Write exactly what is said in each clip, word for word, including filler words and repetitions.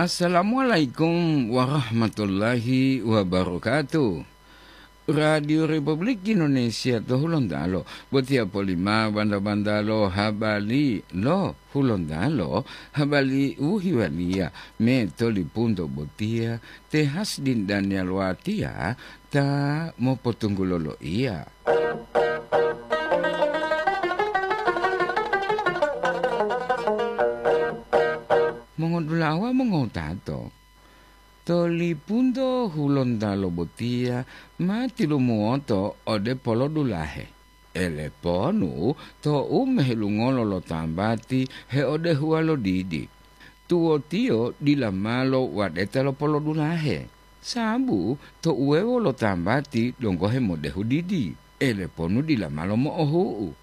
Assalamualaikum warahmatullahi wabarakatuh. Radio Republik Indonesia to Hulontalo, botiya polima banda-bandalo habari lo Hulontalo, habari u hiwaliya me to lipunto botiya te Hasdin Daniel Watiya ta mopotunggulo loiya. Mongodulawa mongotato, to lipunto Hulontalo botiya ma tilumuwoto ode polodulahe. Eleponu to'u mehelungolo lo tambati heodehuwa lo didi. Tuwotiyo dila malo wadeta lo polodulahe, sabu to uwewo lo tambati donggo hemodehu didi, eleponu dila malo mo'ohu'u.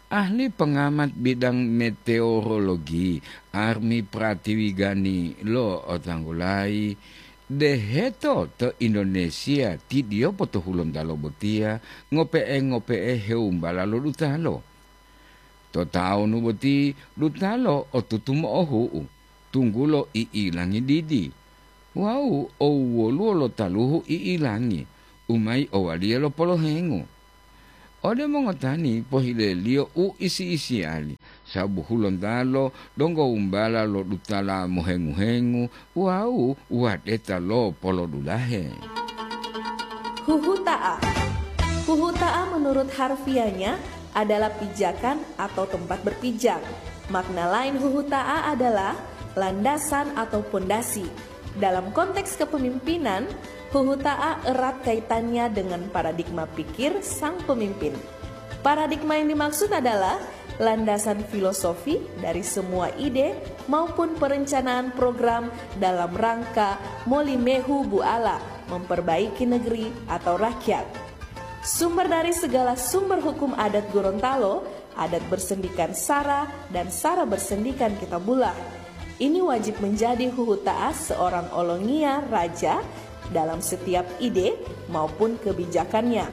Ahli pengamat bidang meteorologi, Armi Pratiwigani lo otanggulayi, deheto to Indonesia tidiyopo to Hulontalo botiya ngope'e-ngope'e heumbala lo dutalo. To tawunu boti dutalo otutu mo'ohu'u, tunggulo i'ilangi didi, wawu owwoluwo lo taluhu i'ilangi, u mayi owaliya lo polohengu. Ode mongotani pohileliyo u isi-isiyali, sabu Hulontalo donggo umbala lo dutala mohengu-hengu wawu wadeta lo polodulahe. Huhuta'a. Huhuta'a menurut harfiahnya adalah pijakan atau tempat berpijak. Makna lain huhuta'a adalah landasan atau pondasi. Dalam konteks kepemimpinan, huhuta'a erat kaitannya dengan paradigma pikir sang pemimpin. Paradigma yang dimaksud adalah landasan filosofi dari semua ide maupun perencanaan program dalam rangka molimehu buala memperbaiki negeri atau rakyat. Sumber dari segala sumber hukum adat Gorontalo, adat bersendikan sara dan sara bersendikan kitabullah. Ini wajib menjadi huhuta'a seorang olongiya raja dalam setiap ide maupun kebijakannya.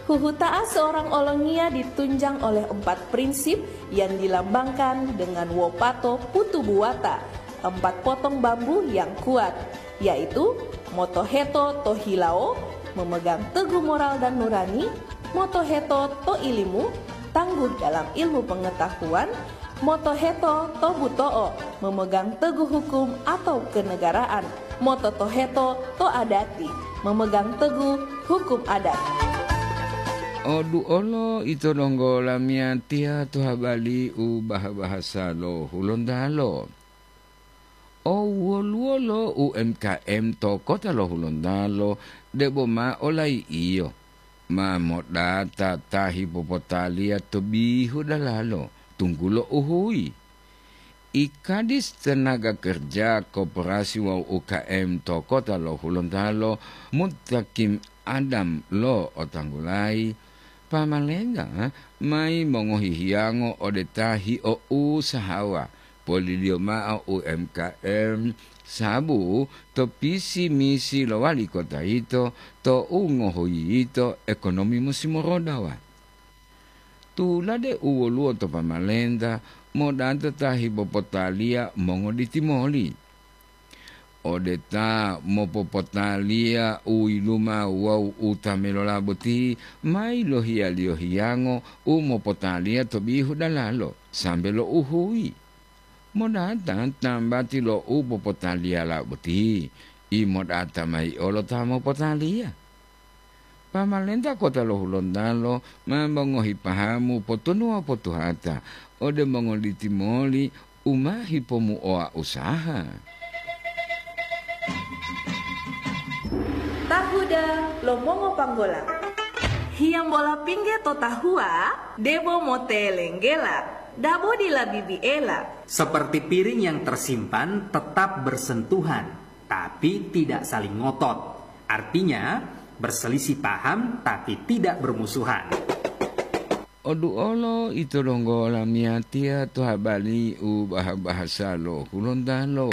Huhuta'a seorang olongiya ditunjang oleh empat prinsip yang dilambangkan dengan wopato putu buwata, empat potong bambu yang kuat, yaitu motoheto to hilawo, memegang teguh moral dan nurani, motoheto to ilimu, tangguh dalam ilmu pengetahuan, motoheto to buto'o, memegang teguh hukum atau kenegaraan, mototoheto to adati, memegang teguh hukum adat. Oduolo ito donggo lamiyatiya to habari u baha-bahasa lo Hulontalo. O woluwolo U M K M to kota lo Hulontalo debo ma olai'iyo, ma modata ta hipopotaliya to bihu dalalo, tunggulo uhuyi. I Kadis Tenaga Kerja, Koperasi wawu U K M to kota lo Hulontalo, Mutakim Adam lo otanggulayi, pamalenta mayi mongohi hiyango ode ta hio'usahawa, poliliyo mao U M K M, sabu to pisi-misi lo wali kota yito, to'u ngohoyiyito ekonomi musi morodawa. Tulade u woluwo to pamalenta, modata ta hipopotaliya mongoditi moli. Ode ta mopopotaliya u yiluma wawu u ta melola boti, ma yilohiyaliyo hiyango u mopotaliya to bihu dalalo, sambe lo uhuyi. Modata tambati lo u popotaliyala boti, i modata mayi olo ta mopotaliya. Pamalenta kota lo Hulontalo ma mongohi pahamu potunuwa potuhata ode mongoliti moli u ma hipomuoa usaha. Tahuda lo mongopanggola. Hiyambola pingge to tahuwa, debo motelenggela, dabo dila bibiela. Seperti piring yang tersimpan tetap bersentuhan, tapi tidak saling ngotot. Artinya, berselisih paham tapi tidak bermusuhan. Oduolo ito donggo lamiyatiya to habari u baha-bahasa lo Hulontalo.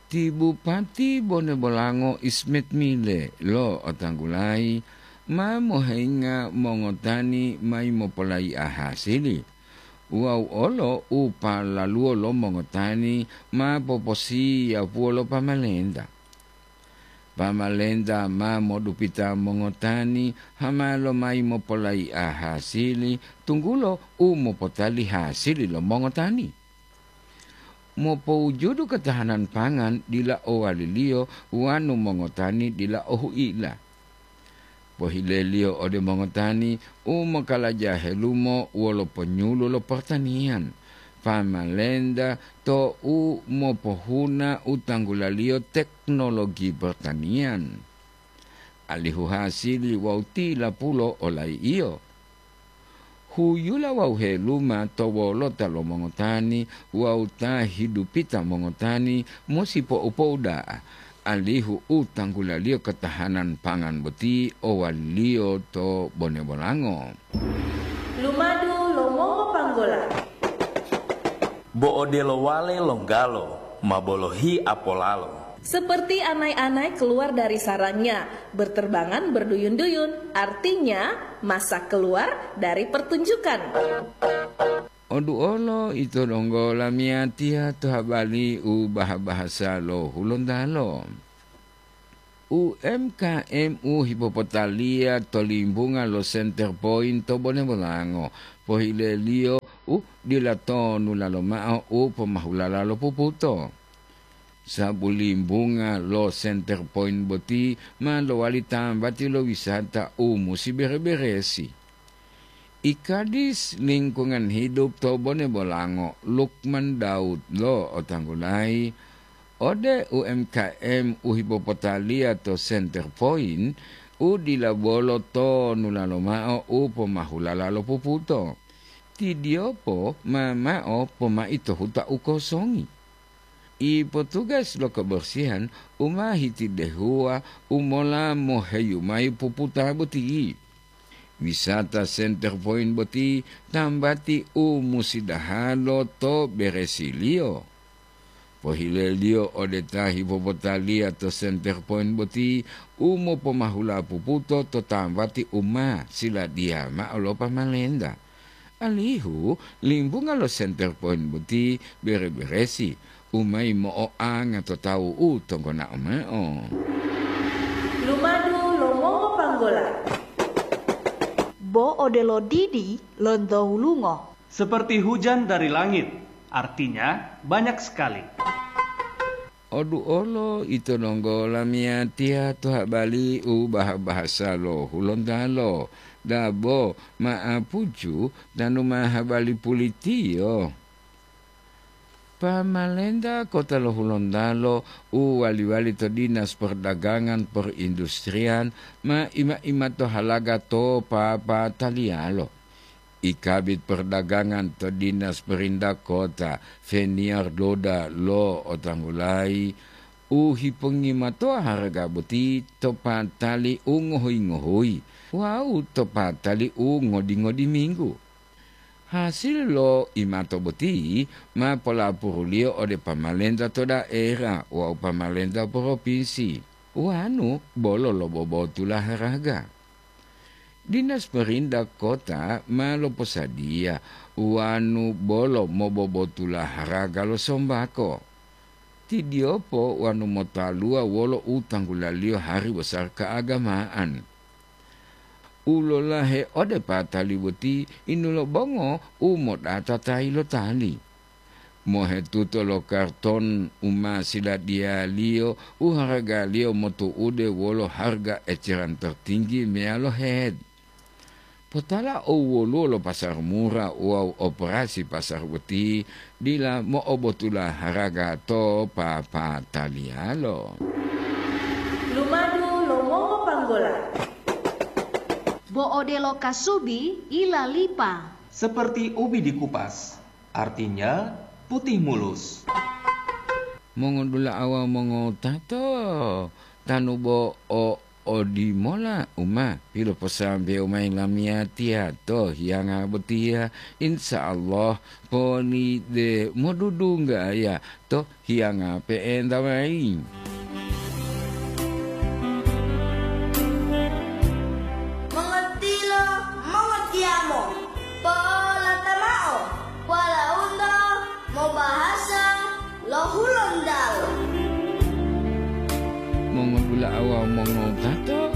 Ti Bupati Bone Bolango Ismet Mile lo otanggulayi ma mohenga mongotani mayi mopolayi'a hasili. wawu olo u palaluwo lo mongotani ma poposiyapuwo lo pamalenta. Pamalenta ma modupita mongotani hama lomayi mopolayi'a hasili, tunggulo u mopotali hasili lo mongotani. Mopowujudu katahanan pangan dila owaliliyo wonu mongotani dila o hu'ila. Pohileliyo ode mongotani u mokalaja helumo wolo ponyulu lo pertaniyan, pamalenta to u mopohuna u tanggulaliyo teknologi pertaniyan, alihu hasili wawu tilapulo olayi'o. Huyula wawu heluma to wolota lo mongotani wawu ta hidupita mongotani musi po'u-po'u da'a, alihu u tanggulaliyo katahanan pangan boti owaliyo to bone bolango. Lumadu lo mongopanggola. Bo odelo wale longgalo ma bolohi apolalo. Seperti anai-anai keluar dari sarangnya, berterbangan berduyun-duyun, artinya masak keluar dari pertunjukan. Oduolo ito donggo lamiyatiya to habali u baha-bahasa lo Hulontalo. U M K M u hipopotaliya to limbunga lo Center Point to Bone Bolango, pohileliyo u dila tonu lalo ma'o u pomahulala lo puputo. Sabu limbunga lo Center Point boti ma lowali tambati lo wisata u musi bere-beresi. Ikadis Lingkungan Hidup to Bone Bolango, Lukman Daud, lo'otanggulayi ode U M K M u hipopotaliya to Center Point u dila bolo tonu lalo ma'o u pomahulala lo puputo. Tidiyopo ma mao pomai to huta u kosongi. Ipotugas lo kebersihan u ma hitidehuwa u mola moheyu mayi puputa boti. Wisata Center Point boti tambati u musidahalo to beresiliyo. Pohileliyo ode ta hipopotaliya to Center Point boti u mopomahula puputo to tambati u ma siladiya ma'o lo pamalenta. Alihu limbunga lo Center Point boti bere-beresi, u mayi mo'oanga to tawu u tonggonao ma'o. Lumadu lo mongopanggola. Bo odelo didi lonto hulungo. Seperti hujan dari langit, artinya banyak sekali. Oduolo ito donggo lamiyatiya to habali u baha-bahasa lo Hulontalo, dabo ma'apucu tanu ma habali pulitiyo. Pamalenta kota lo Hulontalo u wali-wali to Dinas Perdagangan Perindustrian ma ima-ima to halaga to papataliyalo. I Kabid Perdagangan to Dinas Perintah Kota, Feniar Doda, lo'otanggulayi u hipongimatoa haraga boti to patali u ngohuyi-ngohuyi wawu to patali u ngodi-ngodi minggu. Hasil lo imato boti ma polapuruliyo ode pamalenta to daera wawu pamalenta propinsi, wanu bolo lobobotula haraga. Dinas Perintah Kota ma loposadiya wanu bolo mobobotula haraga lo sombako. Tidiyopo wanu motaluwa wolo u tanggulaliyo hari bosar keagamaan. U lolahe ode patali boti inulobongo u modata tayi lo tali. Mohetuto lo karton u ma siladiyaliyo u haragaliyo motu'ude wolo harga eceran tertinggi meyalo head. Potala o woluwo lo pasar murah wawu operasi pasar boti dila mo'obotula haraga to papataliyalo. Lumadu lo mongopanggola. Bo odelo kasubi ilalipa. Seperti ubi dikupas, artinya putih mulus. Mongodula'a wawu mongotato, tanu bo o odimola u ma piloposambewo mayi lamiyatiya to hiyanga botiya, insya Allah poni de modudunggaya to hiyanga pe'enta mayi. Mongotilo, mongotiyamo, polata mao. La'awa mongowutato,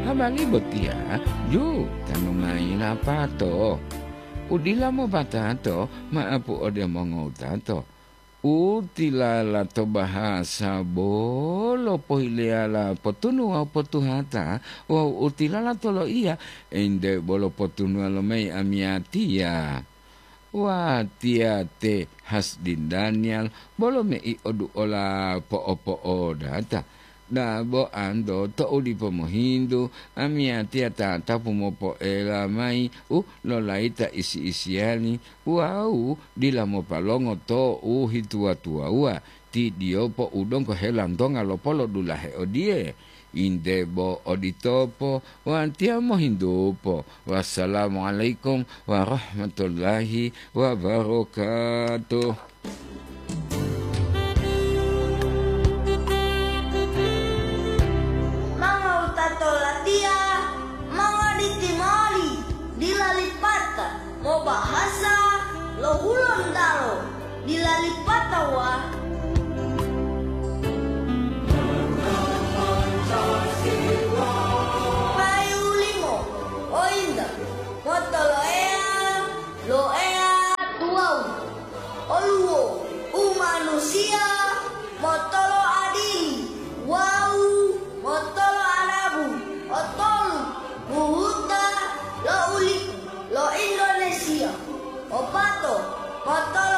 habari botiya ju tanu mayi lapato. Udila mopatato ma'apu ode mongowutato. Utilala to bahasa bolo pohileyala potunu wawu potuhata, wawu utilala to loiya ente bolo potunuwa lomayi amiyatiya. Watiya te Hasdin Daniel bolo mei oduola po'opo'odata. Dabo anto to'u dipo mohintu, amiyatiya tatapu mopoela mayi u lolayita isi-isiyali wawu dila mopalongo to u hituwa-tuwawuwa. Ti diyopo u donggo helantonga lopolodulahe odiye, "Inte bo oditopo, watiya mohintupo." Wassalamualaikum warahmatullahi wabarakatuh. Mangowutato latiya, mongoditi moli, dila lipata, mobahasa lo Hulontalo, dila lipata wa. Payu limo, ointa, motoloeya, loeya tuwawu. Oluwo umanusiya motolo adili wawu motolo adabu, otolu buhuta lo ulipu lo Indonesia, opato motolo